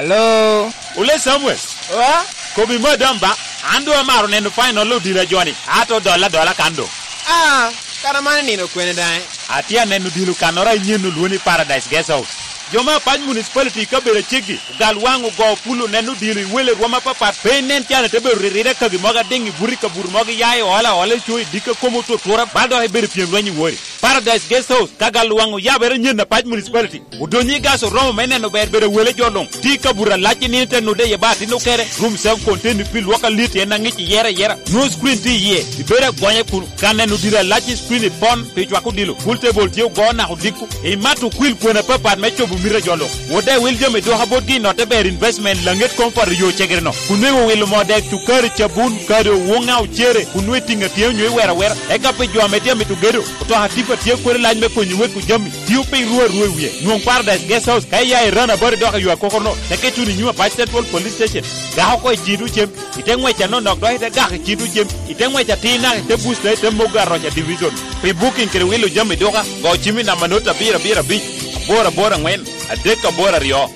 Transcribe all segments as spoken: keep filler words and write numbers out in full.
Hello? Ole Samuel. Wa? Kobi madam ba, an doŋ amaro neno final odilo a joni, ato dolla dola kan doŋ. Ah, kara man nino kwene daŋ? Atye aneno odilo kannoro a inyen olwo ni Paradise Guest House. Jo me Apac Municipality i kabedo aceggi, ogal waŋ ogo pulo neno odilo i wele rwom apapat, pe inen can ite bedo riride kagi mogo adiŋ i buto i kabuto mogo iya i ola ola i co i dikka komo otutura, bal dok ibedo pyem lweny i wori. Paradise Guest House, ka gal waŋ oyabere nyen Apac Municipality. Odonyo i gas oromo me neno ber bedo wele jo luŋ. Tye i kabuto alac i nino te nude iye ba atin okere. Room self contained pi lwok alit en aŋic iyere ayera. Nwoŋo screen tye iye. Ibedo agonye kun ka neno diro alac i screen i pon pi cwako odilo. Pool table tye ogo naka odiko. Imato okwil kwena apapat me cobo mito a jo luŋ. Wode wil jami duka botgi i notte ber investment laŋet koŋ poto yo cegere-no. Kun nweŋo wilo moo dek cukari cabun kadi owoŋa ocere kun nwe tiŋ atye onyo iwero awera. Eka pi jo ame tye amito gedo, otoka tipa tye kodi lac me konyo weko jami. Tio piny ru arua i wie. Nwoŋ Paradise Guest House ka iya i rana bari dok ayo akokorno, teke tuno i nyim Apac Central Police Station. Gak oko i cito cem, ite ŋwec anonok dok ite gak i cito cem, ite ŋwec atir naka ite busta ite mogo aroca division. Pi booking kede wilo jami duka, go cim i namba not abiro abiro abic, aboro aboro aŋwen, adek aboro aryo.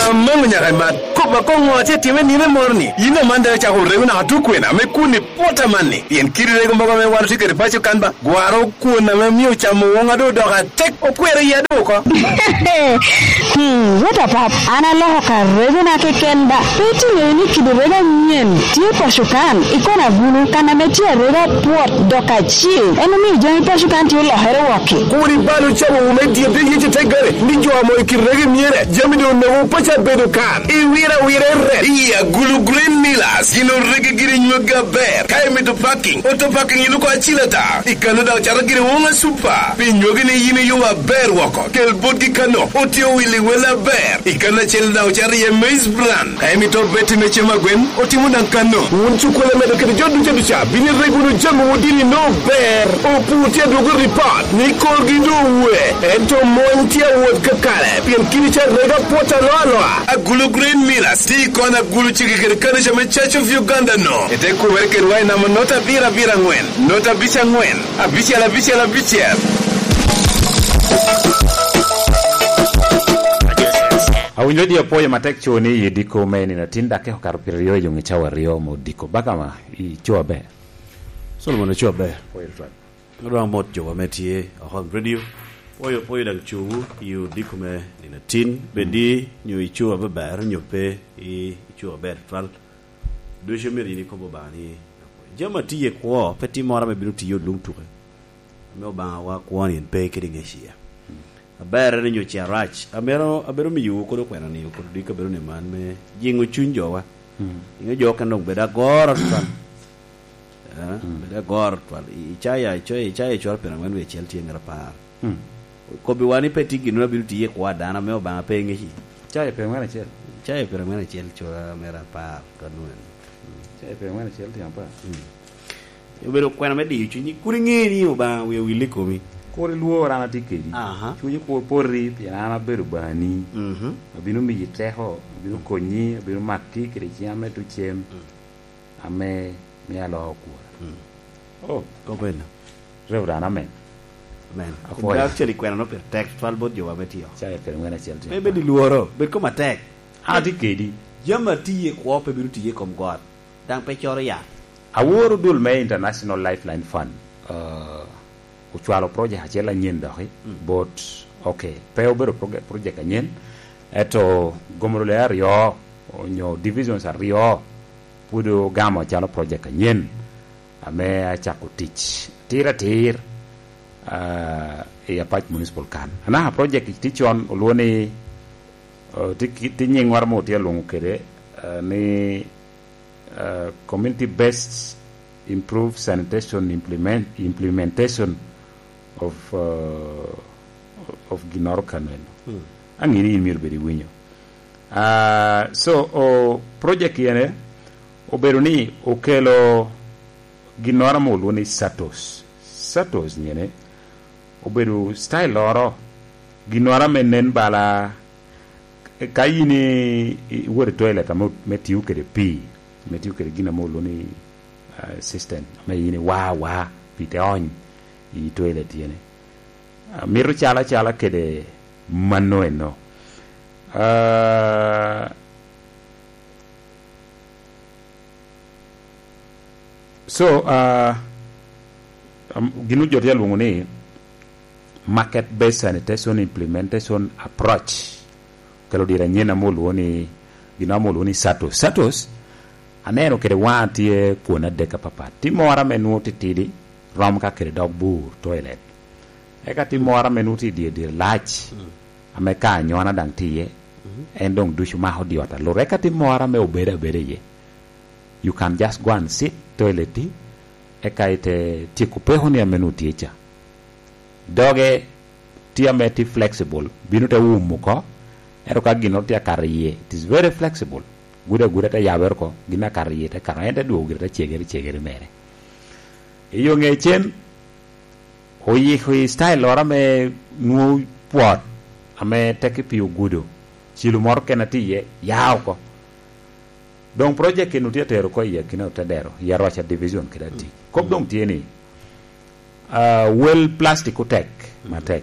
Amango nyaka imat. Kop akoŋo atye time nino moro ni? Yin aman dok icako rego naka tukwena me kun i pwot amanni. Pien kiri rego mogo ame wan otye kede paco kan ba, gwaro kwon ame omio camo woŋa doŋ odoko atek, okwero iya doŋ oko. Hmm, wot apap, an aloko ka regona keken ba. Pe itiŋeyo ni kidi rego anyen tye paco kan, i kona gulu, kan ame tye arego apwot, dok acil. En omio jami paco kan tye olokere wokki. Kur ibal ocamo wu me dyedde Yecu te gare, ni jo amo i kit rego myere, jami doŋ onwoŋo paco abedo kan. Iwiro awira i rep. I Agulu Green Millers, gin orege giri nyweggi aber. Ka imito parking, oto parking iluko acil ata. I kano daŋ ocato giri woŋa super. Pi nywegi ni yin iyo aber woko. Kel botgi kano, otye owil i wel aber. I kano acel daŋ ocato iye maize bran. Ka imito beti me cem agwen, otimo daŋ kano. Wun cukkulu amedo kede jo duca duca, bino ireg wunu jami wudini no ber. Opur tye adwogo ripot ni korgi doŋ owe, ento mony tye awot kakare, pien kidi ca rego apwot aloa aloa. Agulu Green Millers tye i kona Agulu cege kede kanica me Church of Uganda no. Ete kumere kedwa i namba not abiro abiro aŋwen, not abic aŋwen, abicel abicel abicel. Awinyo di apwoyo matek co ni i diko me nino atin dakke okato piraryo i yoŋ i cawa aryo me odiko. Bakama, i co aber. Solomon oco aber. Pwoyo tutwal. Adwa mot jowa me tye oko i radio. Pwoyo, pwoyo daŋ cowu i odiko me nino atin. Bedi nyo ico abeber nyo pe i, ico aber tutwal. Ducu myero yin ikob Obaŋa ni, jami a tye kwo, pe tim moro ame bino tiyo luŋ tuke. Ame Obaŋawa kwon in pe kede ŋec iye. Aberre ni nyo ce arac. Amito, abiro miyowu kodo kwena ni, kodo diko abedo ni man me jiŋo cuny jowa. Mm. Jiŋo jo okene dok bedo agoro tutwal. Eh, mm, bedo agoro tutwal. I, Icaya, Icaya, Icaya cwara pyerangwen wie acel tye ngat apar. Mm. Kobbiwa ni pe tye gin abino tiye i kwo a dano ame Obaŋa pe ŋeci. Icaya pyerangwen acel. Icaya pyerangwen acel cwara mere apar ka nwen. Mm. Icaya pyerangwen acel tye apar. Mm. Obedo kwena me diyo cunyi, kun iŋe ni Obaŋa wie owil i komi. Kur ilwor, an atye kedi. Aha. Cunyi kur poti, pien an abedo bani. Mhm. Abino miyi teko, abino konyi, abino maki kede ciŋa me tucem, mm, ame mio aloo okura. Mm. Oh. Kop eno. Reverend, amen. Amen. Apwoyo. Kun actually kwena no pire tek twal bot jowa me tio. Ca i pire ŋwen acel tye. Pe bed i lworo, bed kom atek. An atye kedi. Jami a tiye kwo pe bino tiye i kom got. Daŋ pe coro yat. Aworo dul me International Lifeline Fund, uh, ocwalo project acel anyen doki, mm, bot, okay, pe obedo proge-, project anyen, eto gomoro le aryo, onyo divisions aryo, pwod ogamo acalo project anyen, ame acako tic atir atir, ah, i Apac Municipal kan. Anaka project tye con olwo ni, uh, tye ki, tye nyiŋ ŋwar mo tye alwoŋo kede, uh, ni uh, community based improve sanitation implement, implementation of, uh, of ginoro kano eno. Mm. Aŋe ni in myero bed iwinyo. Uh, so, o, project ene obedo ni okelo ginnoro ame olwo ni satos. Satos nyene obedo style loro ginnoro ame nen bala ka in i, i, iwot i toilet ame, me tiyo kede pii, me tiyo kede gin ame olwo ni, ah, system, ame in iwa awa, pii te ony i toilet yene. Ah, mito calo acala kede mano eno. Uh, so, uh, um, gin jo tye alwoŋo ni market based sanitation implementation approach. Kelo dire anyen ame olwoŋo ni, gin ame olwoŋo ni satos. Satos, aneno kede waŋa tye kwon adek apapat. Tye moro ame nwoŋo titidi, rom ka kede dog bur, toilet. Eka tye moro ame nwoŋo tye i dye, dye lac, ame ka anyona daŋ tye iye, en doŋ ducu mako dyot alur. Eka tye moro ame obedo abeda iye. You can just go and sit toilet-ti, eka ite tyeko pekoni ame nwoŋo tye ca. Doge tye ame tye flexible, bino te wumo oko, ento ka ginnoro tye akato iye, it is very flexible. Gudo aguda te yabere oko, gin akato iye te kato, en te dwogo gire te cegere, cegere mere. I yo ŋe cen, oyiko i style loro ame nwoŋo pwot, ame tek i pi ogudo, cilo moro kene tye iye, ya oko. Doŋ project eno tye atero oko i akina Otedero, i Aroca Division kede Atik. Kop doŋ tye ni, ah, wel plastic otek, matek.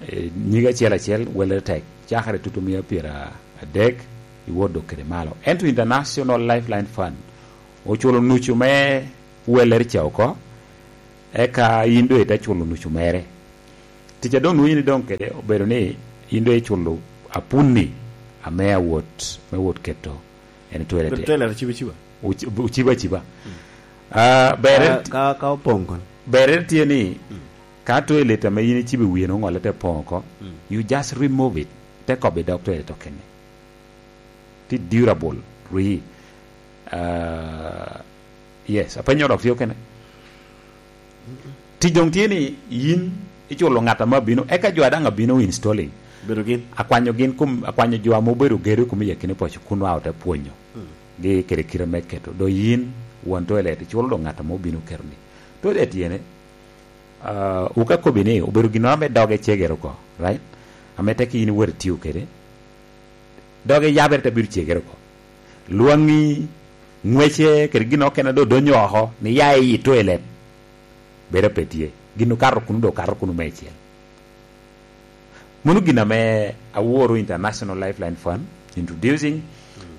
Eh, nyige acel acel, wele tek. Cakere tutu mia pyera adek, i wot dok kede malo. Ento International Lifeline Fund oculo nucu me welere ca oko, eka in doŋ ite culo nucu mere. Tic a doŋ nwoŋo in idoŋ kede obedo ni in doŋ iculo apunni ame awot, me wot keto en i toilet. Bedo toilet aciba aciba. Oci-, ociba aciba. Ah, ber Ka, ka, ka opoŋ kono. Berre tye ni, ka toilet ame in icibo i wiye nwoŋo ŋolle te poŋ oko, you just remove it, te kobo i dog toilet okene. Tye durable, rii. Ah, yes, apenyo dok tye okene. Tic doŋ tye ni yin iculo ŋat ame abino, eka jo a daŋ abino installing. Bedo gin. Akwanyo gin kom, akwanyo jo ame obedo gedo i kom i akina poco kun oa ote pwonyo gi kede kite me keto. Do yin won toilet iculo doŋ ŋat ame obino keto ni. Toilet yene, ah, wuka kobi ni obedo ginnoro ame doge cegere oko, right? Ame tek in iwot itiyo kede. Doge yabere te bino cegere oko. Lwaŋi, ŋwece, kede gin okene do donyo oko, ni ya i toilet. Bedo pe tye. Gin okato kunu do okato kunu meicel. Mano gin ame aworo International Lifeline Fund introducing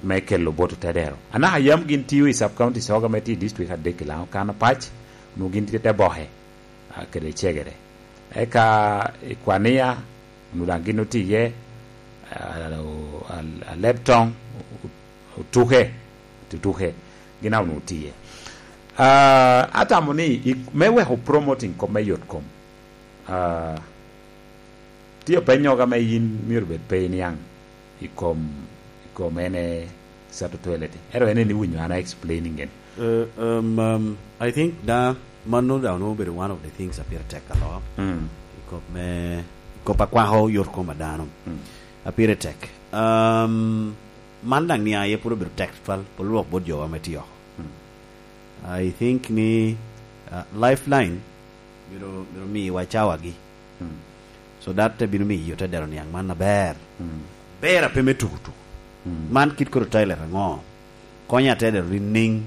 me kelo bot Otedero. Anaka yam gin tiyo i sub counties oga me tye i district adek i Laŋo kan apac, onwoŋo gin tye te boke, ah, kede cegere. Eka i Kwania, onwoŋo daŋ gin otye iye, ah, o-, al-, Aleptong, o-, Otuke, Otuke, gin a onwoŋo tye iye. Ah, atamo ni i, me weko promoting kop me yot kom, ah, tye openyo ame yin myero bed pe iniaŋ i kom, i kom ene sato toilet. Ero ene ni winyo an a explaining en. Uh, um, um, I think da mano da no bedo one of the things a pire tek alo. Mm. I kop me, i kop akwako yor kom a dano. Mm. A pire tek. Um, man daŋ ni aye puro bedo tek twal, polo lwok bot jowa me tiyo. Mm. I think ni, uh, Lifeline myero, myero miwa cawagi. Mm. So that te bino miyo Otedero niaŋ man aber. Mm. Ber ape me tuku tuku. Mm. Man kit koro toilet aŋo? Konyo Otedero niŋ niŋ?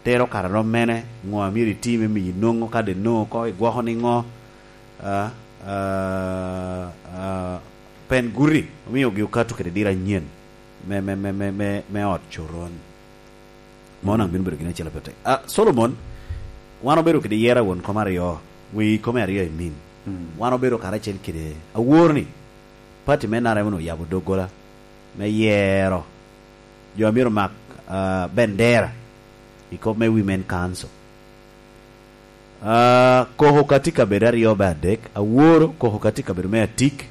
Tero kare rom mene? Ŋo a myero iti me miyo inwoŋo ka de nwoŋo oko igwoko niŋo? Ah, ah, ah, pen guti omiogi okato kede diro anyen me, me, me, me, me, me ot coron. Mano daŋ bino bedo gin acel a pete. Ah, Solomon, wan obedo kede yera won kom aryo, wi kome aryo i min. Mm. Wan obedo karacel kede awor ni, pati me N R M onwoŋo oyabo doggola me yero jo a myero mak, ah, bendera i kop me Women Council. Ah, koko ka tye kabedo aryo be adek, aworo koko ka tye kabedo me atik,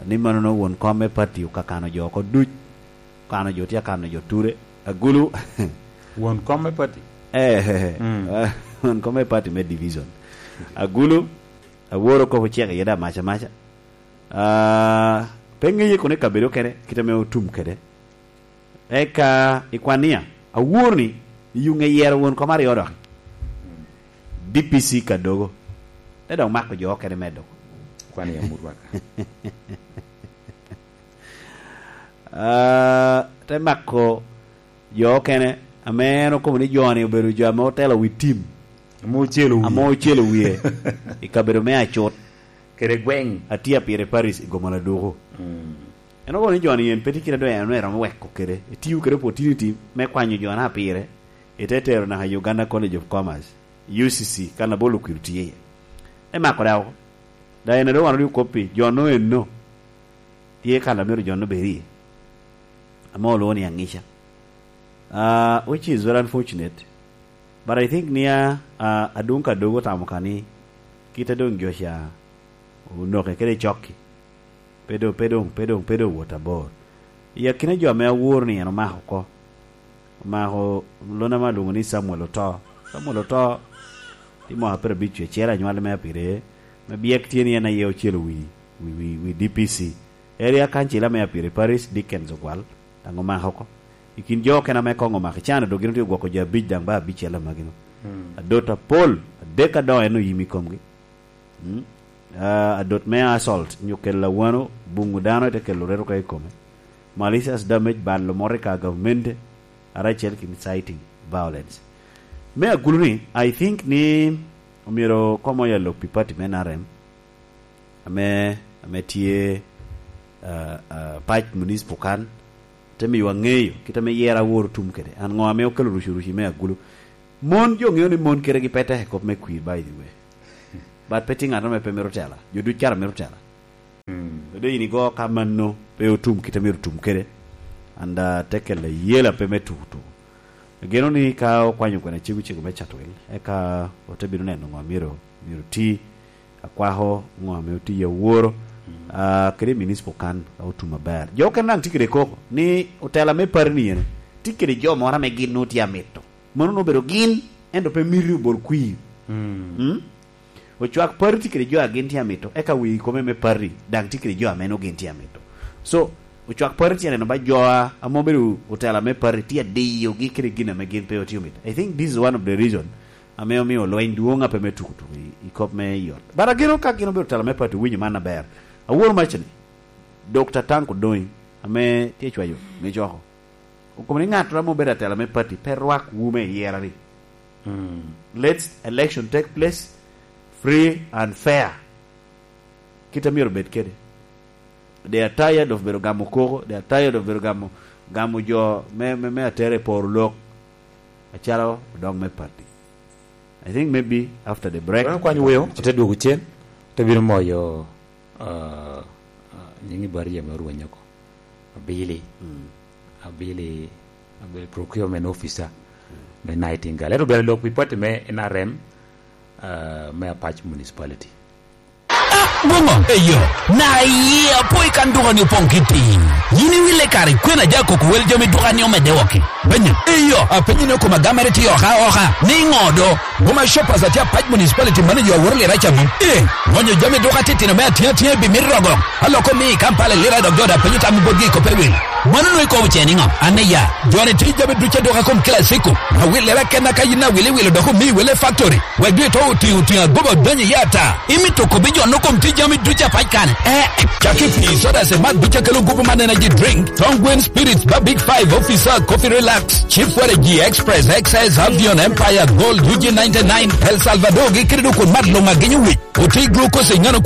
ni mano no won kom me pati okakano jo oko duc, okano jo tye akano jo ture, agulu. Won kom me pati? Eh, eh, eh. Mm. Won kom me pati me division. Agulu, aworo koko cek iye da maca maca. Ah, pe ŋeye kono i kabedo kene, kite ame otum kede. Eka i Kwania, awor ni i yuŋ eyero won kom aryo dok. D P C Kadogo. Te dok mako jo okene me dok. Kwania mut waka. Ah, te mako jo okene, ame en okobo ni jo-ni obedo jo ame otelo wi tim. Ame ocelo wiye. Ame ocelo wiye. I kabedo me Acut. Kede gweng. Atia pire Paris i Gomala Duku. Mm. En okobo ni jo-ni en pe tye kite a doŋ en eromo weko kede, etio kede opportunity me kwanyo jo-na pire, ite tero naka i Uganda College of Commerce, U C C, kan Abolo Okwir tye iye. Te mako daŋ oko. Daŋ en a doŋ wan odio kop pi jo-no eno, tye kan a myero jo-no bed iye, ame olwoŋo ni aŋica. Ah, which is very unfortunate. But I think ni a, a, adwoŋ ka dogo otamo ka ni kite a doŋ jo ca onoke kede cokki, pe doŋ, pe doŋ, pe doŋ, pe doŋ owot abor. I akina jo ame awor ni en omako oko, omako lon ame alwoŋo ni Samuel Oto. Samuel Oto tye mwaka pyerabic wiye acel anywale me apire, me byek tye ni en aye ocelo wi, wi, wi, wi D P C. Area Council ame apire Paris Dickens Ogwal, daŋ omako oko. I kin jo okene ame koŋ omako i can, dok gin otye ogwoko jo abic daŋ ba abicel amagino. Hmm. Adot apol, adek adoŋo en oyim i komgi. Mm. Ah, adot me assault, nyo kelo awano, buŋo dano, ite kelo reto ka i kome. Malicious damage, balo moro i ka gavumenti, aracel ki inciting violence. Me agulu ni, I think ni omyero komo ya lok pi party me N R M, ame, ame tye, ah, ah, Pac Municipal kan, te miyo aŋeyo kit ame yera awor otum kede. An ŋo ame okelo rucu ruci me agulu? Mon, jo ŋeo ni mon kite gi pe tek i kop me kwir, by the way. But pe tye ŋat ame pe mito tela. Jo duc kara mito tela. Mm. Kede in igo ka mano pe otum kite myero otum kede. And, uh, te kelo ayela pe me tuku tuku. Ageno ni ka okwanyo kwena cego cego me Chatwil, eka ote bino neno ŋo myero, myero ti, akwako ŋo ame oti aworo, mm, ah, kede municipal kan ka otum aber. Jo okene daŋ tye kede koko ni otela me party ni ene tye kede jo moro ame gin nwoŋo tye amito. Mano nwoŋo obedo gin, ento pe miti obol kwir. Mm. Mm? Ocwak party tye kede jo a gin tye amito, eka wi kome me party daŋ tye kede jo ame nwoŋo gin tye amito. So, ocwak party tye neno ba jo a, ame obedo otela me party tye adiyogi kede gin ame gin pe otye omito. I think this is one of the reason ame omio lweny dwoŋ ape me tuko tuko i, i kop me i ot. But ageno ka gin obedo tela me party, winyo man aber. Awor maca ni, Doctor Tank Odonyi, ame tye cwayo me coko, okobo ni ŋattoro ame obedo atela me party pe rwak wu me yera ni. Hmm. Let election take place free and fair. Kit a myero obed kede. They are tired of bedo gamo koko, they are tired of bedo gamo, gamo jo me, me, me atera i poro lok, acalo odok me party. I think maybe after the break. Wan okwany weo, ote dwogo cen, ote bino moyo, uh, uh, nying i bari ame orwenyo oko. Abili. Mm. Abili, Abili procurement officer, mm, me Nightingale. Ento bene lok pi party me N R M, uh, me Apac Municipality. Ah, Bungo, eyo, na iye apo i kan duka ni opoŋ kiti. Yin iwile kare, kwena ja koko wel jami duka ni omedde woko. Benya, eyo, apenyo ni okoma gamere tye oka oka, ni ŋo do? Boma Shoppers atye Apac Municipality manager aworo lira ca mom. Eh, ŋonyo jami duka titino me atina atina bi mito rogo. Aloko mi i Kampala lira dok joda penyo tam botgi i kope wil. Mano nwe kobo ce niŋo? An iya, joni tye jami duca duka kom kila siko. Awil lira kenna ka yin awili wilo dok omi wele factory. Wek dwe to otiŋo otiŋo agoba odonyo iye ata. Imito kobbi jo no kom tye jami duca pac kane. Eh, cak i pii, soda, se mat duca kelo gupu man energy drink, Tongue Spirits, ba Big Five, Officer, Coffee Relax, Chief Waragi, Express, X S, Avion, Empire, Gold, U G ninety-nine, El Salvador, gi kede dok kun mat luŋ agenyo wic. Oti glucose i ŋano